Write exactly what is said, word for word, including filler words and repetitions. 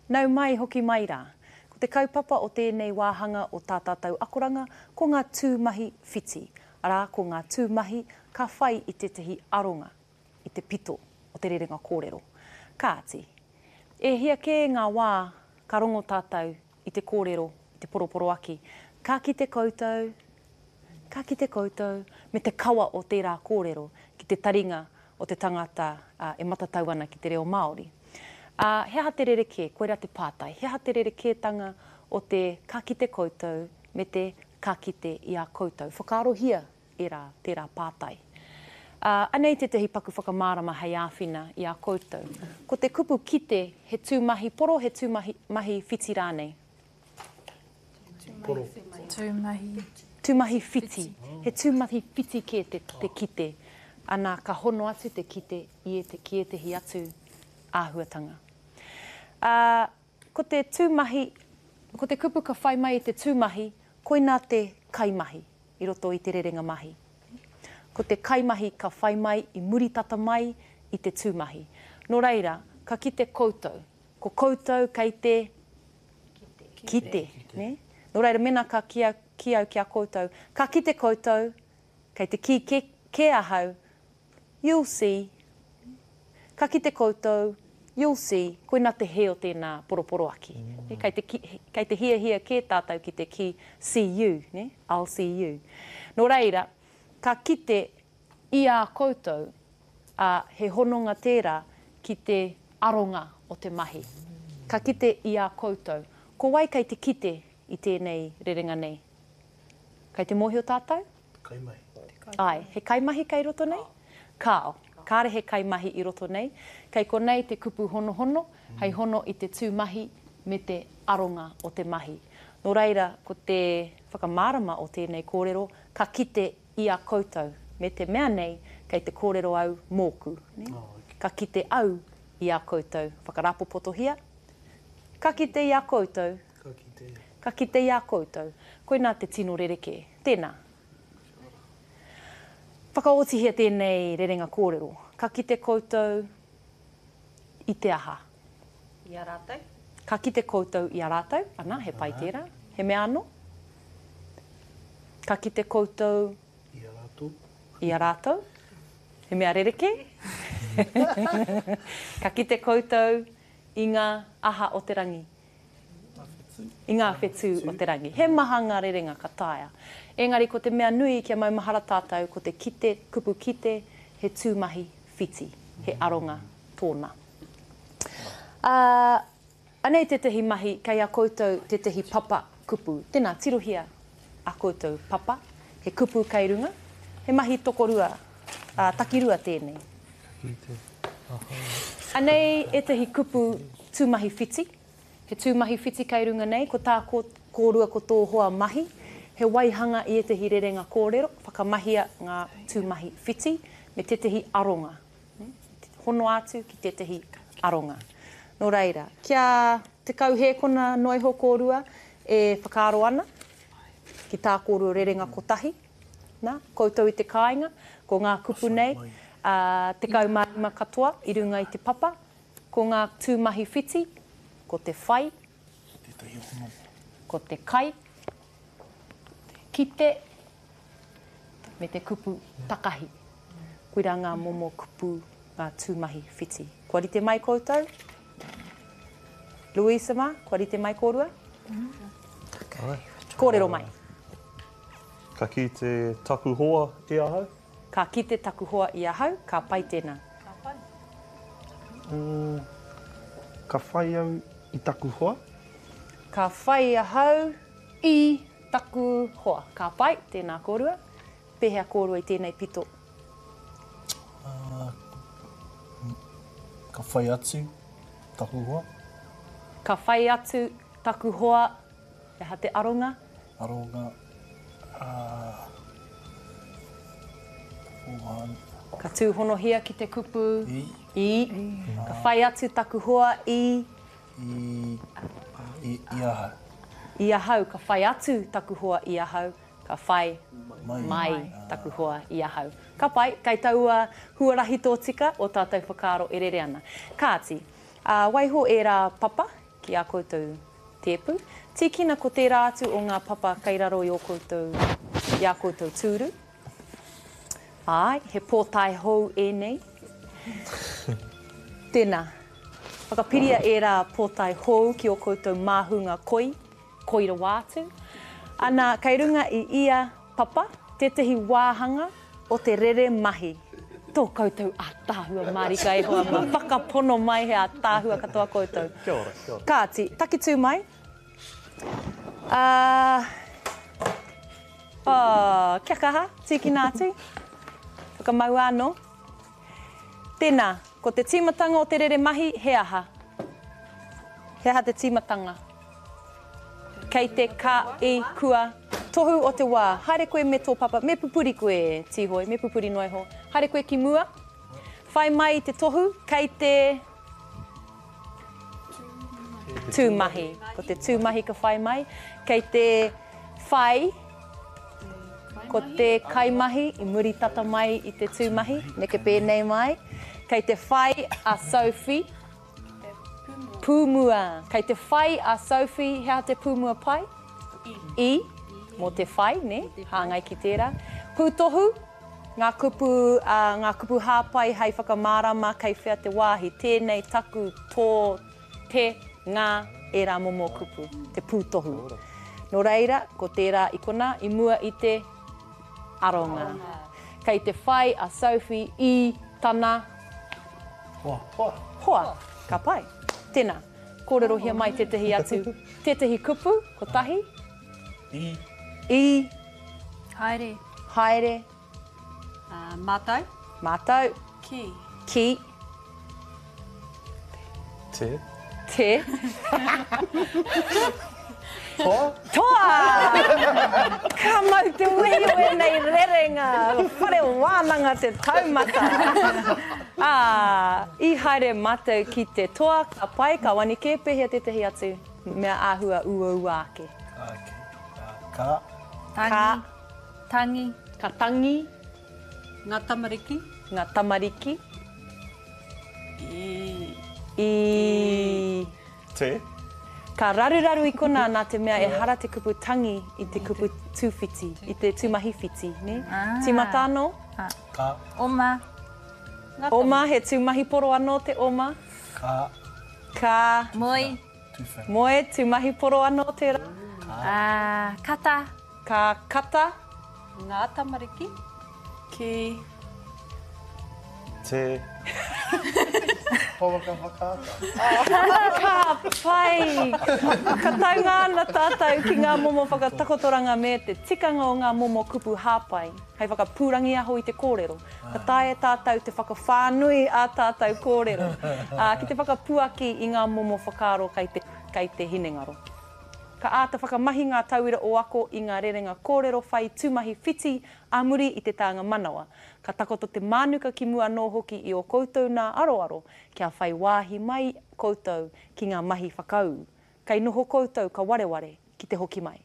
Nau mai, hoki mai rā. Ko te kaupapa o tēnei wāhanga o tā tātou akoranga, ko ngā tūmahi whiti. Arā, ko ngā tūmahi ka whai i tētahi aronga, i te pito o te rerenga kōrero. Kāti, e hia kē ngā wā ka rongo tātou i te kōrero, i te poroporoaki, ka kite koutou, ka kite koutou, me te kawa o tērā kōrero ki te taringa o te tangata uh, e matatau ana ki te reo Māori. Uh, he aha te rerekē, koirā te pātai, he aha te rerekētanga o te ka kite koutou me te ka kite i a koutou. Whakaarohia ērā, tērā pātai. Uh, anei tētahi paku whakamārama hei āwhina i a koutou. Ko te kupu kite, he tūmahi poro, he tūmahi mahi whiti rānei? Poro. Tūmahi. Tūmahi whiti. He tūmahi whiti kē te, te kite. Ana, ka hono atu te kite i ete, ki ētehi atu āhuatanga. Uh, ko te tūmahi, ko te kupu ka whai mai i te tūmahi, koinā te kaimahi i roto i te rerenga mahi. Ko te kaimahi ka whai mai i muri tata mai i te tūmahi. Nō reira, ka kite koutou. Ko koutou kei te kite. Kite, ne? Nō reira, mena ka ki au, ki au ki a koutou, ka kite koutou, kei te kī ke, ke ahau, you'll see. Ka kite koutou, you'll see, koina te he o tēnā poroporoaki. Mm. Kei te, ki, kei te hiahia kē tātou ki te kī, see you, ne? I'll see you. Nō reira, ka kite i a koutou, a, he hononga tērā ki te aronga o te mahi. Ka kite i a koutou. Ko wai kei te kite i tēnei rerenga nei? Kei te mōhio tātou? Kaimahi. Ai, he kaimahi kei roto nei? Kāo. Kāre he kaimahi i roto nei. Kei konei te kupu honohono, hei hono i te tūmahi me te aronga o te mahi. Nō reira, ko te whakamārama o tēnei kōrero, ka kite i a koutou. Me te mea nei, kei te kōrero au mōku. Ne? Ka kite au i a koutou. Whakarapopotohia. Ka kite i a koutou. Ka kite. Ka kite i a koutou. Koinā te tino rerekē. Tēnā. Whakaotihia tēnei rerenga kōrero. Ka kite koutou i te aha? I a rātou. Ka kite koutou i a rātou. Ana, he pai tērā. He mea anō? Ka kite koutou I a rātou. I a rātou. He mea rerekē? Ka kite koutou i ngā aha o te rangi. I ngā whetū o te rangi. He maha ngā rerenga ka taea. Engari ko te mea nui kia maumahara tātou, ko te kite, kupu kite, he tūmahi whiti, he aronga tōna. Uh, anei tētahi mahi, kei a koutou tētahi papa kupu. Tēnā, tirohia a koutou papa, he kupu kei runga, he mahi tokorua, uh, takirua tēnei. Anei ētahi kupu tūmahi whiti. He tūmahi whiti kei runga nei, ko tā kōrua ko tō hoa mahi, he waihanga i ētahi rerenga kōrero, whakamahia ngā tūmahi whiti me tētahi aronga. Hono atu ki tētahi aronga. Nō reira, kia tekau hēkona noa iho kōrua e whakaaro ana ki tā kōrua rerenga kotahi. Nā, koutou i te kāinga, ko ngā kupu nei, uh, tekau mā rima katoa i runga i te papa, ko ngā tūmahi whiti, ko te whai, ko te kai, kite, me te kupu takahi. Koirā ngā momo kupu, ngā tūmahi whiti. Kua rite mai koutou? Louisa mā, kua rite mai kōrua? Kōrero mai. Ka kite taku hoa i ahau? Ka kite taku hoa i ahau, ka pai tēnā. Ka pai. Mm, ka whai au i taku hoa? Ka whai ahau i taku hoa. Ka pai, tēnā kōrua. Pēhea kōrua i tēnei pito? Uh, ka whai atu taku hoa. Ka whai atu taku hoa. He aha te aronga? Aronga. Uh, ka tūhonohia ki te kupu I. I. Ka whai atu taku hoa i. I, i, i ahau. I ahau, ka whai atu taku hoa i ahau, ka whai mai, mai taku hoa i ahau. Ka pai, kei taua huarahi tōtika o tātou whakaaro e rere ana. Kāti, uh, waiho ērā papa ki ā koutou tēpu. Tīkina ko tērā atu o ngā papa kei raro i ō koutou, i ā koutou tūru. Āe, he pōtae hou ēnei. Tēnā, whakapiria ērā pōtae hou ki ō koutou māhunga koi, koi rawa atu. Ana, kei runga i ia papa tētehi wāhanga o te rere mahi. Tō koutou ātaahua mārika e hoa mā, whakapono mai he ātaahua katoa koutou. Kia ora, kia ora. Kāti, takitū mai. Uh, oh, kia kaha, tīkina atu. Whakamaua anō. Tēnā, ko te tīmatanga o te rere mahi, he aha? He aha te tīmatanga? Kei te ka, i, kua, tohu o te wā. Haere koe me tō papa, me pupuri koe, Tīhoi, me pupuri noa iho. Haere koe ki mua. Whai mai i te tohu, kei te tūmahi. Ko te tūmahi ka whai mai. Kei te whai, ko te kaimahi i muri tata mai i te tūmahi, neke pēnei mai. Kei te whai a Sophie. Pūmua. Kei te whai a Sophie, he aha te pūmua pai? I. Mō te whai, ne? Hāngai ki tērā. Pūtohu, ngā kupu, uh, ngā kupu hāpai hei whakamārama kei whea te wāhi. Tēnei, taku, tō, te, ngā, ērā momo kupu, te pūtohu. Nō reira, ko tērā i konā, i mua i te aronga. Kei te whai a Sophie i tana Hoa. Hoa. Hoa. Ka pai. Tēnā, kōrerohia mai tētahi atu, tētahi kupu, kotahi. I. I. Haere. Haere. Uh, mātau. Mātau. Ki. Ki. Te. Te. Toa. Toa! Ka mau te wehi o ēnei rerenga, whare wānanga te taumata. Ā, i haere mātou ki te toa, ka pai, ka wani kē, pēhea tētahi atu mea āhua uaua ake. Okay. Ka. Tangi. Ka. Tangi. Ka tangi. Ngā tamariki. Ngā tamariki. I. I. Te. Ka raruraru i konā nā te mea ehara te kupu tangi i te kupu tūwhiti, i te tūmahi whiti, ne? Ah. Tīmata anō? Ka. Oma. Oma, he tūmahi poro anō te oma. Ka. Ka. Moe. Tūwhera. Moe, tūmahi poro anō tērā. Ka. Ah, kata. Ka kata. Ngā tamariki. Ki. Te. Pouaka whakaata. Ka pai! Ka taunga ana tātou ki ngā momo whakatakotoranga me te tikanga o ngā momo kupu hāpai, hei whakapūrangiaho i te kōrero. Ka taea tātou te whakawhānui ā tātou kōrero, ā, ki te whakapuaki i ngā momo whakaaro kei te, kei te hinengaro. Ka āta whakamahi ngā tauira o ako i ngā rerenga kōrero whai tūmahi whiti ā muri i te tānga manawa. Ka takoto te mānuka ki mua anō hoki i ō koutou nā aroaro, kia whai wāhi mai koutou ki ngā mahi whakaū. Kei noho koutou ka wareware ki te hoki mai.